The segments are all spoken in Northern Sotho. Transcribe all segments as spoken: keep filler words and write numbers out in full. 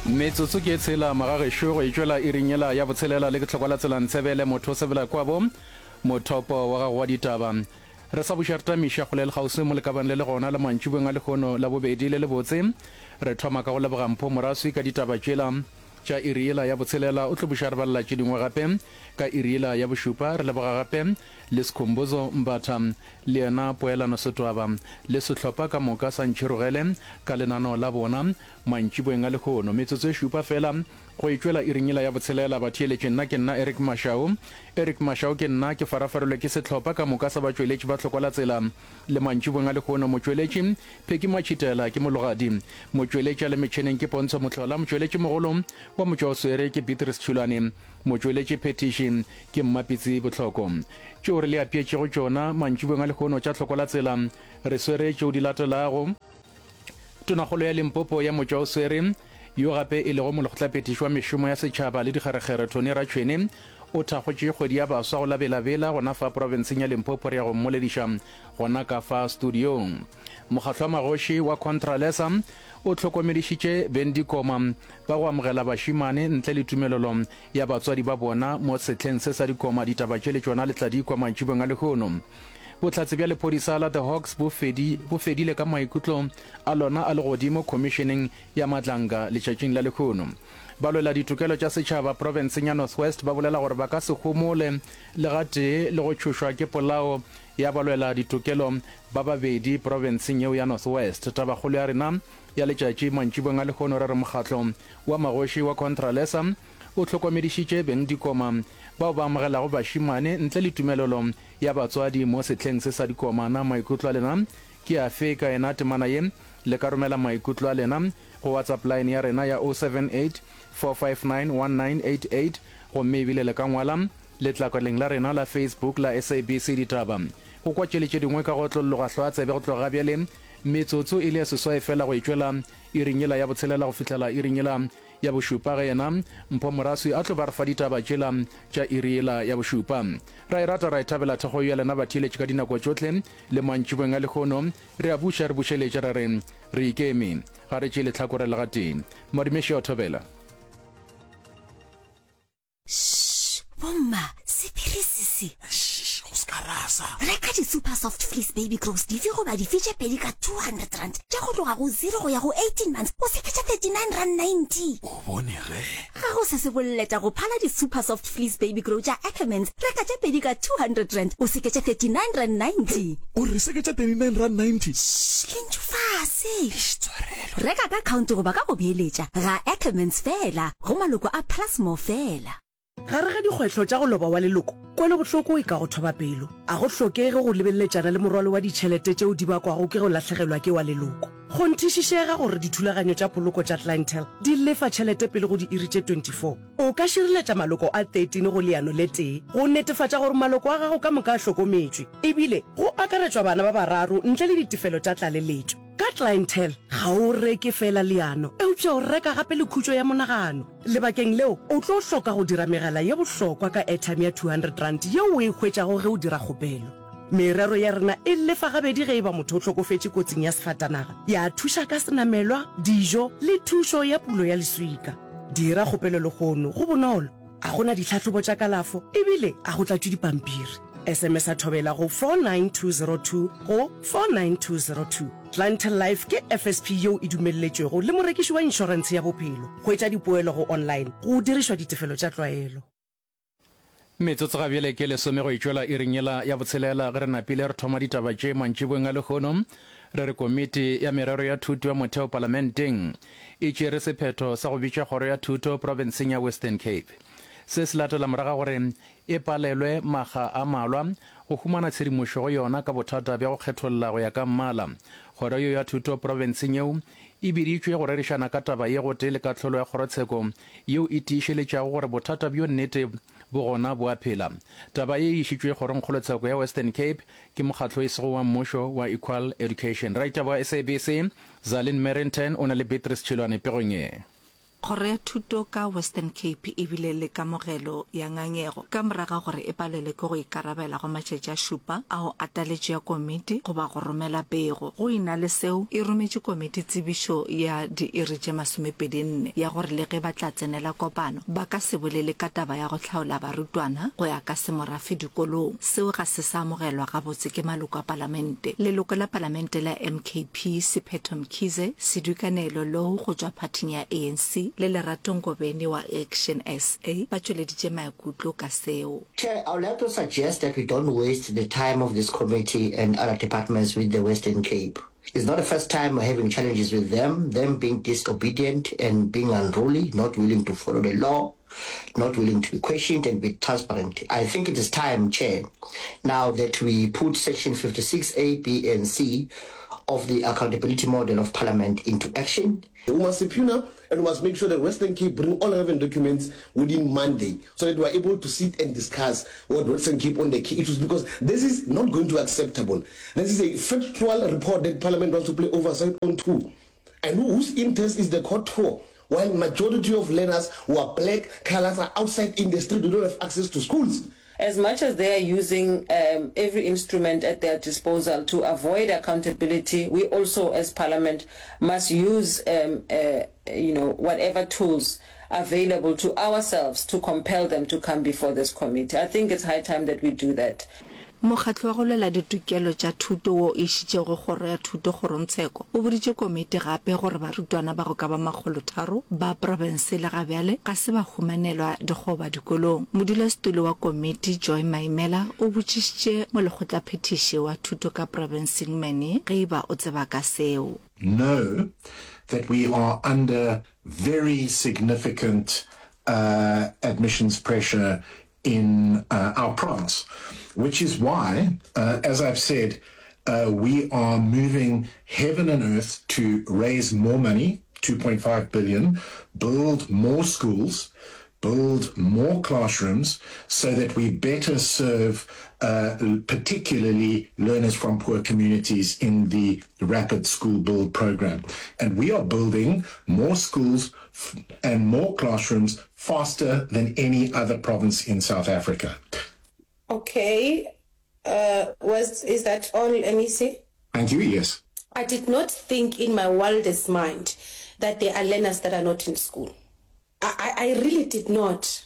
Metsotso ke e tshela magagešo go e tšwela iring yela ya botshelela le ke tlhokwa la tsela ntshebele motho o sebela kwabo mothopo wa gago wa ditaba. Re sa buša re tamiša kgole le kgauswi mo lekabang le le gona le mantšiboeng a lehono la bobedi le lebotse. Re thoma ka go leboga Mpho Moraswi ka ditaba tšela tša iri yela ya botshelela, o tlo buša re balela tše dingwe gape ka iri yela ya bošupa. Re leboga gape le Skhumbuzo Mbatha le yena Poelano Setwaba le sehlopha ka moka sa Ntšhirogele ka lenaneo la bona mantšiboeng a lehono. Metsotso e šupa fela go e tšwela iring yela ya botshelela. Batheeletši, nna ke nna Eric Mashau. Eric Mashau ke nna, ke farafarilwe ke sehlopha ka moka sa batšweletši ba Hlokwa la Tsela le mantšiboeng a lehono. Motšweletši, Pheki Matšhitela ke mologadi. Motšweletši a le metšheneng ke Pontsho Mohlola. Motšweletši mogolo wa motšwaoswere ke Beatrice Tšhulwane. Motšweletši phethiši ke Mmapitsi Bohloko. Tšeo re le apeetšego tšona mantšiboeng a lehono tša Hlokwa la Tsela re swere tšeo di latelago. Tonakgolo ya Limpopo ya motšwaoswere, yo gape e lego molekgotlaphethiši wa mešomo ya setšhaba le dikgerekgere Tony Ratšhwene, o thakgotše kgwedi ya baswa go la Bela-Bela gona fa profenseng ya Limpopo. Re ya go mmolediša gona ka fa studiong. Mokgatlo wa magoši wa Contralesa o hlokomedišitše bengdikoma ba go amogela bašemane ntle le tumelelo ya batswadi ba bona mo sehleng se sa dikoma. Ditaba tše le tšona le tla di kwa mantšibong a lehono. Bohlatse bja lephodisa la The Hawks bo fedi, bo fedile ka maikutlo a lona a legodimo khomišeneng ya Madlanga letšatšing la lehono. Balwela ditokelo tša setšhaba profenseng ya North West ba bolela gore ba ka se homole le gatee le go tšhošwa ke polao ya balwela ditokelo ba babedi profenseng yeo ya North West. Tabakgolo ya rena ya letšatši mantšibong a lehono re re mokgatlo wa magoši wa Contralesa o hlokomedišitše bengdikoma bao ba amogelago bašemane ntle le tumelelo ya batswadi mo sehleng se sa dikoma. Na maikutlo a lena ke afe ka yena temana ye? Le ka romela maikutlo a lena go WhatsApp line ya rena ya oh seven eight four five nine one nine eight eight gomme ebile le ka ngwala letlakaleng la rena la Facebook la S A B C Ditaba. Go kwa tše le tše dingwe ka go otlolloga hlwa tsebe go tloga ga bjale metsotso e le ya seswai fela go e tšwela iring yela ya botshelela go fihlela iring yela ya bošupa ge yena Mpho Moraswi a tlo ba re fa ditaba tšela tša iri yela ya bošupa. Ra e rata ra e thabela thekgo ya lena batheeletši ka dinako tšohle le mantšiboeng a lehono. Re a buša re bušeletša ra re re ikeme, ga re tšee lehlakore le gatee. Madimeši a o thobela. Shh, bomma, sephiri se se. Shh, go se ka rasa. Reka di-super soft fleece baby grows dife goba dife tše pedi ka two hundred rand tša go tloga go zero go ya go eighteen months o seketša thirty-nine rand ninety. O bone ge? Ga go se se boleta go phala di-super soft fleece baby grow tša Ackermans. Reka tše pedi ka two hundred rand o seketše thirty-nine rand ninety. O re seketša thirty-nine rand ninety? Shh, lentšu fase. Eish, tshwarelo. Reka ka khaonte goba ka go beeletša ga Ackermans fela, go maloko a Plusmore fela. Gare ga dikgwetlho tša go loba wa leloko, kwelobohloko e ka go thoba pelo. A go hlokege go lebeleletšana le morwalo wa ditšhelete tšeo di bakwago ke go lahlegelwa ke wa leloko. Kgonthišišega gore dithulaganyo tša poloko tša Clientele di lefa tšhelete pele go diiri tše twenty four. O ka šireletša maloko a thirteen go leano le tee go netefatša gore maloko a gago ka moka a hlokometšwe, ebile go akaretšwa bana ba bararo ntle le ditefelo tša tlaleletšo. Ka Clientele, ga o reke feela leano, eupša o reka gape le khutšo ya monagano. Lebakeng leo, o tlo hloka go dira megala ye bohlokwa ka airtime ya two hundred rand yeo o e hwetšago ge o dira kgopelo. Merero ya rena e lefa gabedi ge e ba motho o hlokofetše kotsing ya sefatanaga, ya thuša ka senamelwa, dijo le thušo ya pulo ya leswika. Dira kgopelo lehono, go bonolo, a go na ditlhahlobo tša kalafo ebile a go tlatšwe dipampiri. S M S a thobela go four nine two zero two go four nine two zero two. Clientele Life ke F S P yeo e dumelletšwego le morekiši wa inšorentshe ya bophelo. Hwetša dipoelo go online go dirišwa ditefelo tša tlwaelo. Metsotso ga bjale ke lesome go itšwela iring yela ya botshelela ge re napile re thoma ditaba tše mantšiboeng a lehono. Re re Komiti ya Merero ya Thuto ya Motheo Palamenteng e tšere sephetho sa go bitša Kgoro ya Thuto profenseng ya Western Cape. Se se latela morago ga gore e palelwe makga a malwa go humana tshedimošo go yona ka bothata bja go kgetholla go ya ka mmala. Kgoro yeo ya thuto profenseng yeo e biditšwe go rerišana ka taba ye gotee le kahlolo ya kgorotsheko yeo e tiišeletšago gore bothata bjo nnete bo gona bo a phela. Taba ye e išitšwe kgorongkgolotsheko ya Western Cape ke mokgatlo e sego wa mmušo wa Equal Education. Raitaba wa S A B C, Zalin Merrington o na le Beatrice Tšhilwane pegong ye. Kgoro ya Thuto ka Western Cape e bile le kamogelo ya ngangego ka morago ga gore e palelwe ke go ikarabela go matšatši a šupa ao a taletšo ya komiti goba go romela pego. Go e na le seo, e rometše komiti tsebišo ya diiri tše masomepedi nne ya gore le ge ba tla tsenela kopano, ba ka se bolele ka taba ya go hlaola barutwana go ya ka semorafe dikolong. Seo ga se sa amogelwa gabotse ke maloko a palamente. Leloko la palamente la M K P Siphetho Mkhize, Sedukanelo Louw go tšwa phathing ya A N C le Lerato Ngobeni wa Action S A ba tšweleditše maikutlo ka seo. Chair, I would like to suggest that we don't waste the time of this committee and other departments with the Western Cape. It's not the first time we're having challenges with them, them being disobedient and being unruly, not willing to follow the law, not willing to be questioned and be transparent. I think it is time, Chair, now that we put Section fifty-six A, B and C of the accountability model of Parliament into action. We must subpoena and we must make sure that Western Cape bring all relevant documents within Monday so that we are able to sit and discuss what Western Cape on the key issues, because this is not going to be acceptable. This is a factual report that Parliament wants to play oversight on too. And whose interest is the court for? While majority of learners who are black, colors are outside in the street, they don't have access to schools. As much as they are using, um, every instrument at their disposal to avoid accountability, we also as Parliament must use, um, uh, you know, whatever tools available to ourselves to compel them to come before this committee. I think it's high time that we do that. Mokgatlo wa go lwela ditokelo tša thuto wo o išitšego Kgoro ya Thuto kgorongtsheko o boditše komiti gape gore barutwana ba go ka ba makgolotharo ba profense le ga bjale ga se ba humanelwa dikgoba dikolong. Modulasetulo wa komiti Joy Maimela o botšišitše molekgotlaphethiši wa thuto ka profenseng Mannie ge e ba o tseba ka seo. Know that we are under very significant uh, admissions pressure in uh, our province, which is why, uh, as I've said, uh, we are moving heaven and earth to raise more money, two point five billion, build more schools, build more classrooms so that we better serve uh, particularly learners from poor communities in the Rapid School Build program. And we are building more schools and more classrooms faster than any other province in South Africa. Okay. Uh, was is that all, M E C? Thank you, yes. I did not think in my wildest mind that there are learners that are not in school. I, I, I really did not.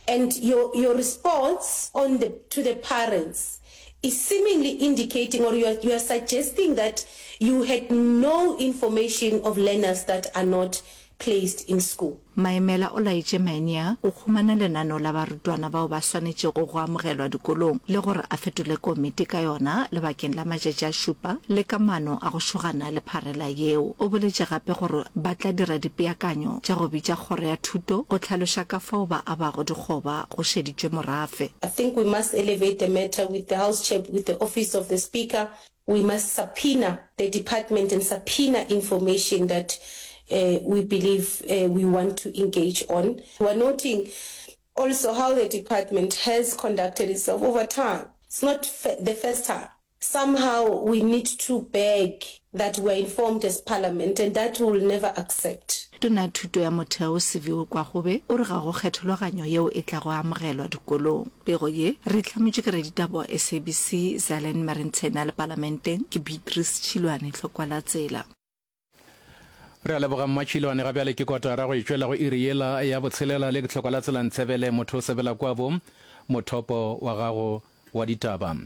And your, your response on the, to the parents is seemingly indicating, or you are, you are suggesting that you had no information of learners that are not placed in school. Maimela o laetše Maynier go humana lenaneo la barutwana bao ba swanetšego go amogelwa dikolong le gore a fetole komiti ka yona lebakeng la matšatši a šupa le ka maano a go šogana le pharela yeo. O boletše gape gore ba tla dira dipeakanyo tša go bitša kgoro ya thuto go hlaloša ka fao ba abago dikgoba go šeditšwe morafe. I think we must elevate the matter with the House Chair, with the Office of the Speaker. We must subpoena the department and subpoena information that uh, we believe uh, we want to engage on. We are noting also how the department has conducted itself over time. It's not the first time. Somehow we need to beg that we are informed as Parliament, and that we will never accept. Tona ya Thuto ya Motheo Siviwe Gwarube o re ga go kgethologanyo yeo e tlago amogelwa dikolong. Pego ye re e hlametšwe ke raditaba wa S A B C Zalen Marentshena le Palamenteng ke Beatrice Tšhilwane Tlhokwa la Tsela. Re a leboga Mmatšhilwane. Ga bjale ke kotara go e tšwela go iri yela ya botshelela le ke tlhokwa la tsela ntshebele motho o sebela kwabo mothopo wa gago wa ditaba.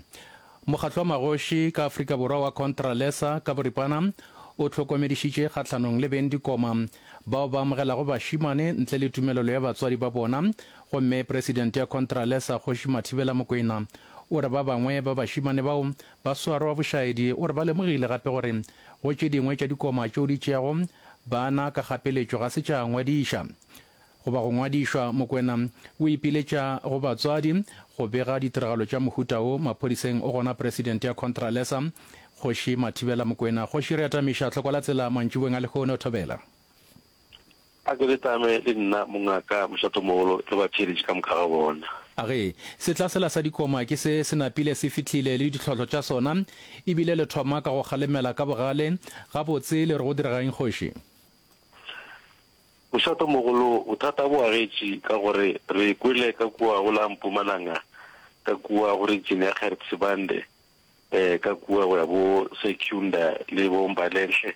Mokgatlo wa magoši ka Afrika Borwa wa Contralesa ka boripana o hlokomedišitše kgahlanong le beng dikoma bao ba amogelago bašemane ntle le tumelelo ya batswadi ba bona, gomme presidente ya Contralesa Kgoši Mathibela Mokwena o re ba bangwe ba bašemane bao ba swarwa bošaedi. O re ba lemogile gape gore go tše dingwe tša dikoma tšeo di tšeago bana ka kgapeletšo ga se tša ngwadiša goba go ngwadišwa. Mokwena o ipiletša go batswadi go bega ditiragalo tša mohuta wo maphodiseng. O gona presidente ya Contralesa Kgoši Mathibela Mokwena. Kgoši, re atamiša tlhoko la tsela mantšiboeng a lehono, thobela. A ke le tame le nna mongaka mošatomogolo le batheeletši ka moka ga bona. A ge setla sela sa dikoma ke se se napile se fihlile le ditlhohlo tša sona, ebile le thoma ka go kgalemela ka bogale. Gabotse le re go diregang, kgoši? Mošatomogolo, bothata bo agetše ka gore re kwele ka kua go la Mpumalanga, ka kua go region ya Gert Sibande, eh, ka kua go ya bo Secunda le bo Mbalenhle,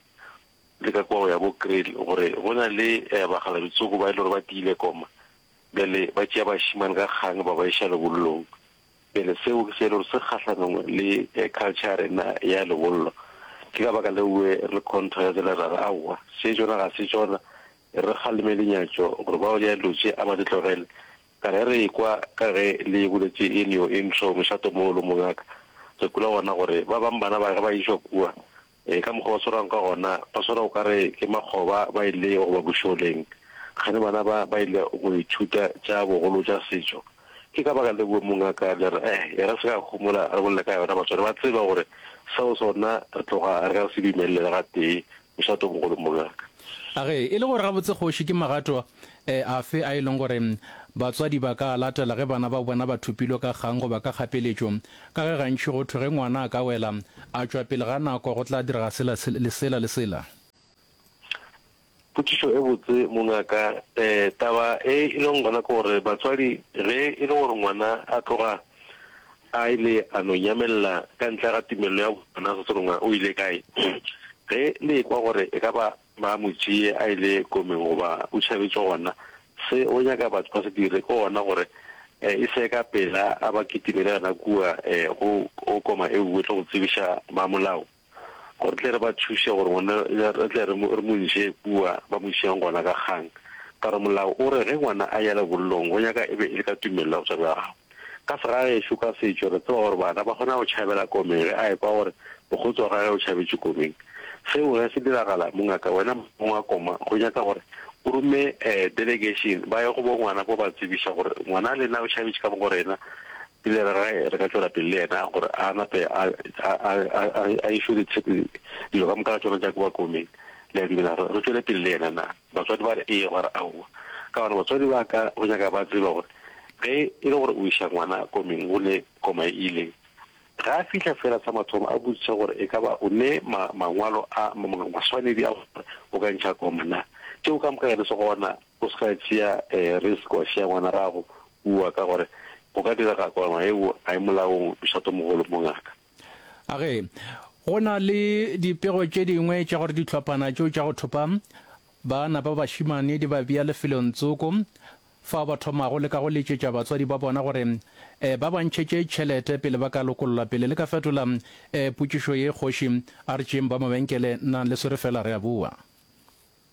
le ka kua go ya bo Kriel, gore go na le eh, bakgalabje-tsoko ba e le gore ba tiile koma. Bjale ba tšea bašemane ka kgang ba ba iša lebollong. Bjale seo ke se e le gore se kgahlanong le culture ya rena ya lebollo. Ke ka baka leo re le contra ka tsela ra re aowa, se tšona ga se tšona, re kgaleme lenyatšo gore bao ya dilo tše a ba di tlogele. Ka re re ekwa ka ge le boletše in your intro mošatomogolo mongaka, re kwele gona gore ba bang bana ba ge ba išwa kua, Ee, ka mokgwa ba swarwang ka gona, ba swarwa o ka re ke makgoba ba ile goba bošoleng. Kgane bana ba ba ile go ithuta tša bogolo tša setšo. Ke ka baka leo mongaka le re, Eh, e re se ka homola re bolele ka yona. Batswadi ba tseba gore seo sona re tloga re ka se dumelele le gatee. Mošatomogolo mongaka. A Ge e le gore gabotse kgoši ke magato afe a e leng gore batswadi ba ka a latela ge bana ba bona ba thopilwe ka kgang goba ka kgapeletšo, ka ge gantši go thwe ge ngwana a ka wela a tšwa pele ga nako go tla direga sela le sela le sela? Potšišo e botse mongaka. Taba e e leng gona ke gore batswadi ge e le gore ngwana a tloga a ile a no nyamelela ka ntle ga tumelelo ya bona sa tsebe o ile kae, ge le ekwa gore e ka ba ba mo tšee a ile komeng goba o tšhabetše gona, se o nyaka batho ba se dire ke gona gore e se ka pela a ba kitimele gona kua go go koma e nngwe tlo go tsebiša ba molao gore tle re ba thuše gore ngwana re tle re mo re mo ntšhe kua ba mo išeng gona ka kgang. Ka gore molao o re ge ngwana a ya lebollong go nyaka e be e le ka tumelelo ya batswadi ba gagwe. Ka segagešo ka setšo re tseba gore bana ba kgona go tšhabela komeng ge a ekwa gore mokgotsi wa gagwe o tšhabetše komeng. Seo ge se diragala, mongaka, wena mong wa koma, go nyaka gore o rome delegation ba ye go bo ngwana bo ba tsebiša gore ngwana lena o tšhabetše ka mo go rena, pele re ge re ka tšwela pele le yena gore a nape a, a, a, a, a išwe dilo ka moka ga tšona tša kua komeng. Le a dumela gore re tšwele pele le yena na? Batswadi ba re ee, gwa re aowa. Ka gona batswadi ba ka go nyaka ba tseba gore ge e le gore o iša ngwana komeng go ne koma e ileng, Ge a fihla feela sa mathomo a botšiša gore e ka ba o ne ma, mangwalo a, ma, ma, maswanedi a gore o ka ntšha koma na. Tšeo ka moka ge di se gona, o se ka tšea eh, risk wa šia ngwana gago kua ka gore go ka direga koma yeo ga e molaong, mošatomogolo mongaka. A Ge go na le dipego tše dingwe tša gore dihlophana tšeo tša go thopa bana ba bašemane di ba bea lefelong tsoko fao ba thomago le ka go letšetša batswadi ba bona gore ba ba ntšhetše tšhelete pele ba ka lokollwa. Pele le ka fetola potšišo ye, Kgoši, a re tšeeng ba mabenkele, nang le swere fela, re a boa.